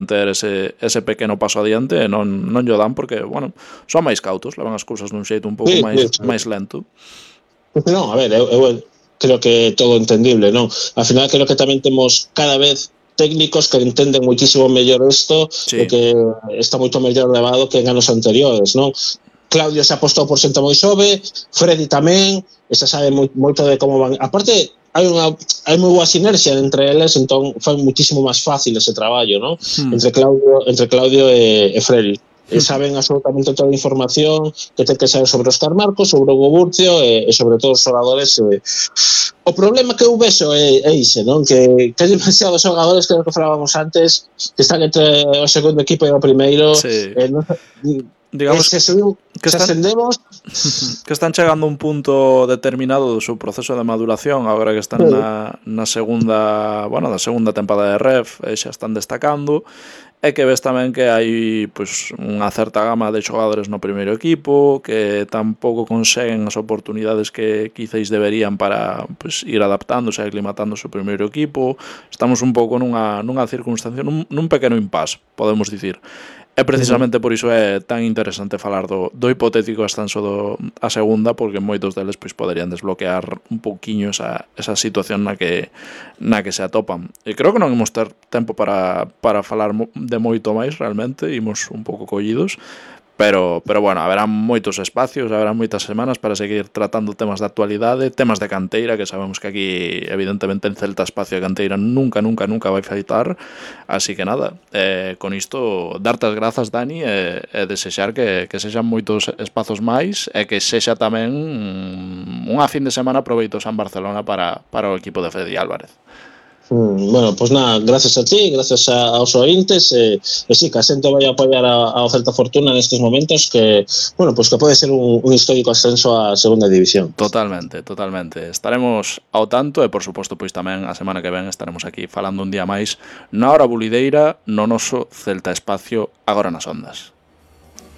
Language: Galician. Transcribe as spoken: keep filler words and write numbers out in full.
ter ese, ese pequeno paso adiante e non, non llo dan porque, bueno, son máis cautos, levan as cousas dun xeito un pouco Sí, máis, sí, sí. máis lento. Non, a ver, eu, eu creo que todo entendible, non? Al final creo que tamén temos cada vez técnicos que entenden moitísimo mellor isto Sí. e que está moito mellor levado que en anos anteriores, non? Claudio se apostou por xente moi xove, Freddy tamén, e se sabe moi, moito de como van. Aparte, hai unha hai moi boa sinerxia entre eles, entón foi muitísimo máis fácil ese traballo, non? Hmm. Entre Claudio, entre Claudio e, e Freddy. E saben absolutamente toda a información que ten que saber sobre Óscar Marcos, sobre Hugo Burcio e, e sobre todos os xogadores. E, o problema que eu vexo é, é ise, non? Que, que hai demasiados xogadores que, que falábamos antes que están entre o segundo equipo e o primeiro. Sí. Eh, non, digamos se, subiu, que se están, ascendemos que están chegando a un punto determinado do seu proceso de maduración agora que están na, na segunda, bueno, na segunda tempada de Ref e xa están destacando, e que ves tamén que hai pois, unha certa gama de xogadores no primeiro equipo que tampouco conseguen as oportunidades que quizáis deberían para pois, ir adaptándose e aclimatándose ao primeiro equipo. Estamos un pouco nunha, nunha circunstancia, nun, nun pequeno impasse, podemos dicir. E precisamente por iso é tan interesante falar do, do hipotético ascenso do, a segunda, porque moitos deles pois, poderían desbloquear un pouquiño esa, esa situación na que, na que se atopan. E creo que non imos ter tempo para, para falar de moito máis, realmente, imos un pouco collidos, pero, pero bueno, haberá moitos espacios, haberá moitas semanas para seguir tratando temas de actualidade, temas de canteira, que sabemos que aquí evidentemente en Celta espacio de canteira nunca, nunca, nunca vai faltar, así que nada, eh, con isto darte as grazas, Dani, e, e desexar que, que sexan moitos espazos máis e que sexa tamén unha fin de semana proveitosa en Barcelona para, para o equipo de Freddy Álvarez. Mm, bueno, pois pues nada, gracias a ti, gracias a, aos ointes e, e sí, que a xente vai a apoiar a, ao Celta Fortuna nestes momentos que, bueno, pois pues que pode ser un, un histórico ascenso á segunda división. Totalmente, totalmente. Estaremos ao tanto e, por suposto, pois tamén a semana que ven estaremos aquí falando un día máis na Hora Bulideira no noso Celta Espacio agora nas ondas.